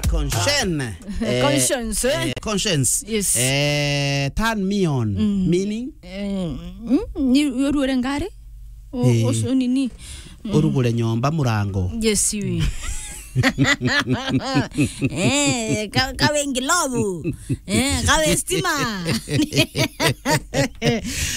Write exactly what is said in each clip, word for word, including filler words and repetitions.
Conscience. Eh, Conscience, eh? Eh, conscience. Yes. Eh, turn me on. Mm. Meaning? Eh, mm, ni uruere ngari? O, eh, usu nini? Mm. Urugure nyomba murango. Yes, we. Eh, ka-, kawe ngilobu. Eh, kawe stima.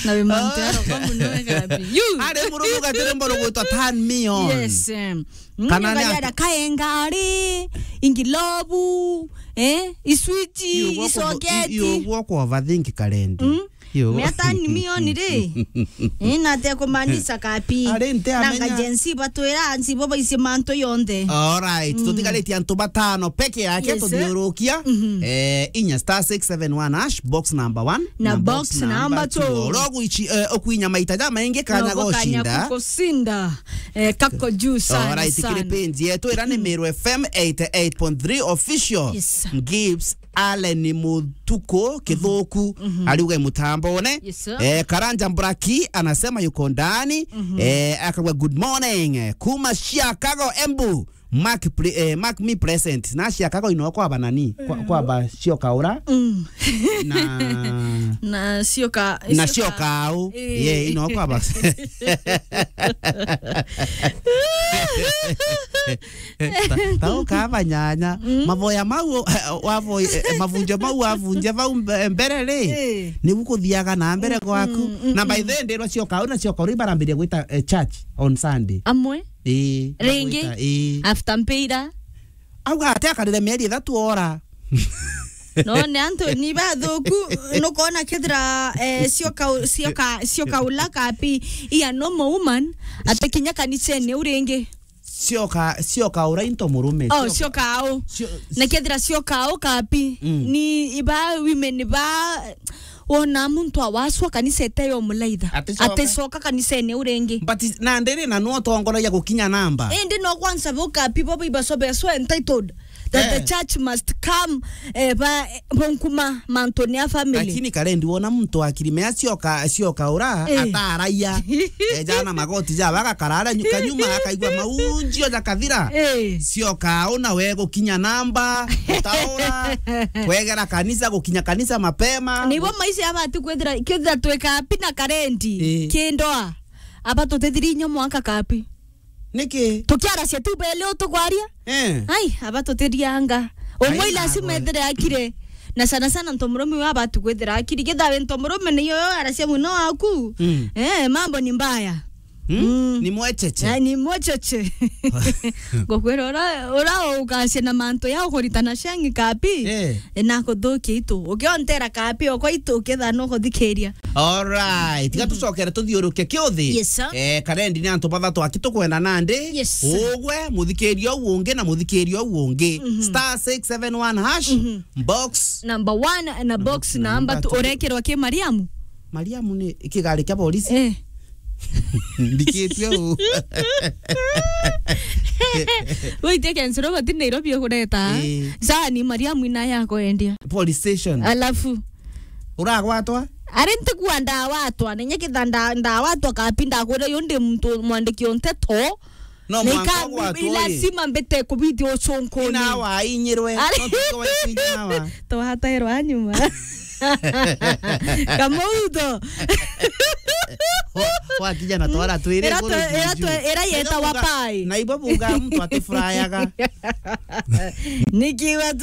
Na we mantu yaro kwa muno wega bi. You. Ari mururuga tiri mbono gwitwa turn me on. Yes, em. Mm, kana ni ngari ati- ara kaenga ari, ingilobu, eh, iswitch, iyo gwako, isoketi. Iyo gwako overthink karendi. Mm. Yo. Mea turn me on ri. Eh, na te kumaanisha kapi. Ari nte amenya. Nanga Gen Z batwira nsi bo baisie mantu yonthe. All right, mm, tutigaritie antu batano peke yake. Yes, sir. Tuthiurukia. Mhm. Eh, inya star six seven one hash, box number one. Na box number two. Oro gwichi, eh, okwinya maita ja maingi kanya gocinda. Kanya kukusinda. Eh, kako juu sana, all right, sana. Kiri page yetu ira ni Meru F M eighty-eight point three official. Yes, sir. Gibbs Allen Mutuku Kithuku, mhm, ariuga mutambone. Yes, sir. Eh, Karanja Mburaki anasema yuko ndani. Mhm. Eh, akagwa good morning. Eh, kuma Chicago, Embu. Mark pre-, eh, mark me present. Na Chicago ino kwa banani? Kwa, kwa ba Sioka ura. Mm. Na, na Sioka, na Sioka. Sioka au. Eh. Ye, ino kwa ba. Ta, ta uka banyanya. Mm. Mavoya mau, wavo-, eh, mavunjo mau wavunja vau mbe-, mbere ri. Eh. Ni gukuthiaga na mbere, mm, gwaku. Mm, mm, na by, mm, the way, ndirwa Sioka au na Sioka uri barambiria gwita, eh, church on Sunday. Amwe? Ii, ringi, bagwita, ii. After mpira. Auga ati akarire mieri ithatu ora. No, ni antu ni bathuku, nukona kethira, eh, Sioka u-, Sioka, Sioka ula kapi, iya normal woman, ati kinya kanisene u ringi. Sioka, Sioka ura into murume, oh, Sioka. Sioka au. Sio-, na kethira Sioka au kapi, mm, ni iba women ba, wona muntu awaswa kanisa ete yo mulaitha. Aticoka. Aticoka kanisene u ringi. But na ndiri na no tongoragia gukinya namba. Indi no kwanza bo kapi bo bibasobeswa entitled that, eh, the church must come, eh, ba, eh, bonkuma mantune a family. Lakini karendi wona muntu akiri mea Sioka, Sioka ura, eh, ataraia. Ejana magoti ja baga karara nyu-, kanyuma akaigua maunjio ja kathira. Eh. Sioka au na we gukinya namba, gutaura, kwegera kanisa, gukinya kanisa mapema. Nibo maisha ya batu kwithira, kwithira twika pi na karendi, eh, kindoa. Aba tutithiri inya mwaka kapi. Niki? Tukiaracia tu bele utukwaria? Eh. Ai, aba tutirianga. Ai, umwe lazima ethire akire. Na sana sana ntomurume wa batu kwithira akiri. Kithawe ntomurume ni yo aracia muno aku. Mm. Eh, mambo ni mbaya. Hmm? Mm. Ni mwecheche. Eh, ni mwecheche. Ngokwira ura, ura ukacia na mantu ya ukuritana ciangi kapi. Eh. E, na kuthukia itu. Ukiontera kapi okwa itu, ukethira no kuthikiria. All right. Tiga tucokere tuthiuruke kiuthi. Yes, sir. Eh, karendi ni antu bathatu aki tukwenda nandi. Yes, sir. Ugwe, muthikiria u ungi na muthikiria u ungi. Mhm. Star six seven one hash, mhm, box. Number one na box number two. Urekirwa ki Mariamu? Mariamu ni kigari kia polisi? Eh. Ndikitue u. Waitie Kensi Robert Nairobi ukureta. Eh. Sani Mariamu ina ya kwendia. Police station. Alafu. Uragwatwa? Ari ntikua ndawatwa, nenye kitha nda-, ndawatwa kapi ndakwira yo ndi muntu mwandiki o nteto. No mwanka ugwatwo ri. Lazima mbite kubithia ucunkuni. Ina wa inyirwe. Ari- no tuko wa inyirwa. Twatairwa nyuma. Kamuutho. Wa-, wakija na twara twiri ira kuru twe-, ira juju. Twe-, ira yeta wa pai. Na ibo buga mtu atifurayaga. Nikiwa tu